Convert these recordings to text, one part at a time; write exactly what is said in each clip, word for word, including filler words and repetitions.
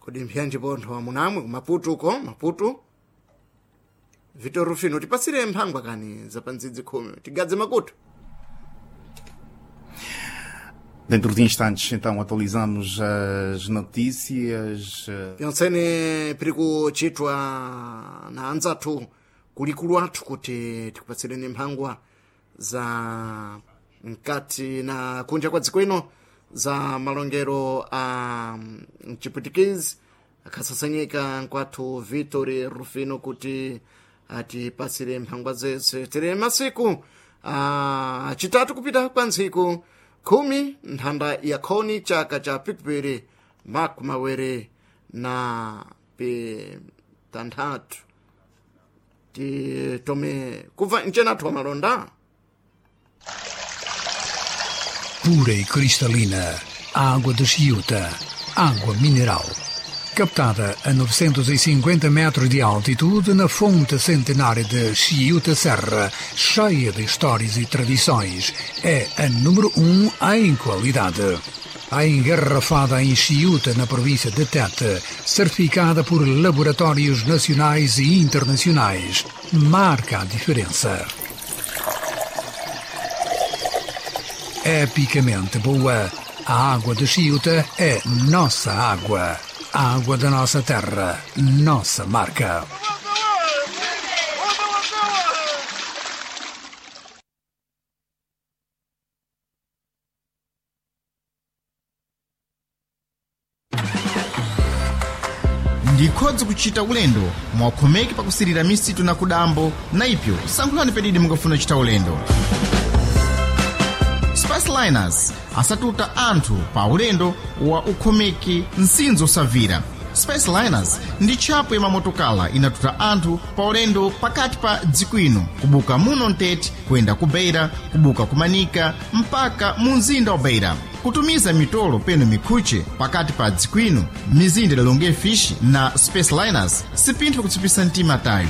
Kodi mpyanji pontho amunamwe kumaputu uko Maputo? Vitor Rufino, tipasire mphangwa kani za pandzidzi khumi tigadze makutu. Dentro de instantes, então, atualizamos as notícias. Pyontsene piri kuchitwa na anzathu kulikulu athu kuti tikupatsireni mphangwa za mkati na kunja kwa dziko ino za malongero a mchipwitikizi akhasasanyika nkwathu Vitor Rufino kuti atipasire mphangwa zese. Tiri masiku achitatu kupita kwa ntsiku khumi nthanda ya khoni chaka cha pikipiri makumi mawiri na pitanthatu. Titome kubva mchenathu wa malonda. Pura e cristalina, água de Chiuta, água mineral. Captada a novecentos e cinquenta metros de altitude na fonte centenária de Chiuta Serra, cheia de histórias e tradições, é a número um em qualidade. A engarrafada em Chiuta, na província de Tete, certificada por laboratórios nacionais e internacionais, marca a diferença. Epicamente boa, a água de Chiuta é nossa água. A água da nossa terra, nossa marca. Ndikhodzi kuchita ulendo mwakhomeki pakusirira misitu na kudambo na ipyo sankhulani pedidi mungafuna kuchita ulendo. Spaceliners asatuta anthu pa ulendo wa ukhomeki msinzo osavira. Spaceliners ndi tchapo ya mamotokala inatuta anthu pa ulendo pakati pa dziko ino kubuka muno mtete kuyenda ku Beira, kubuka ku Manika mpaka mu mzinda wa Beira, kutumiza mitolo peno mikhuche pakati pa dziko ino mizinda idalonge fishi na Spaceliners sipinthu kutsipisa mtima tayo.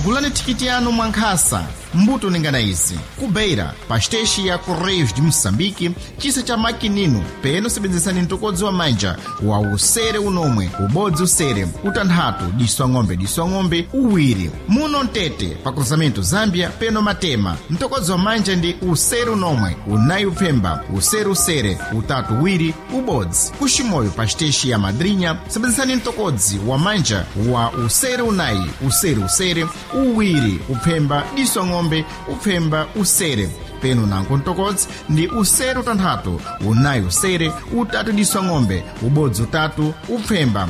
Gulani thikiti yanu mwankhasa mbuto ningana izi: ku Beira pa xiteshi ya Correios de Moçambique, chisa cha makinino, peno sebenzesani mtokodzi wa manja wa usere unomwe ubodzi usere utanthatu diso ang'ombe diso ang'ombe uwiri. Muno mtete pa cruzamento Zambia peno matema mtokodzi wa manja ndi usere unomwe unayi upfemba usere usere utatu uwiri ubodzi. Kuximoyo pa xiteshi ya Madrinha sebenzesani mtokodzi wa manja wa usere unayi usere usere uwiri upfemba diso ang'ombe upfemba usere peno nanko mtokodzi ndi usere utanthatu unayi usere utatu diso ang'ombe ubodzi utatu upfemba.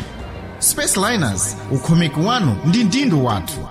Spaceliners, ukhomeki wanu ndi ndindu wathu.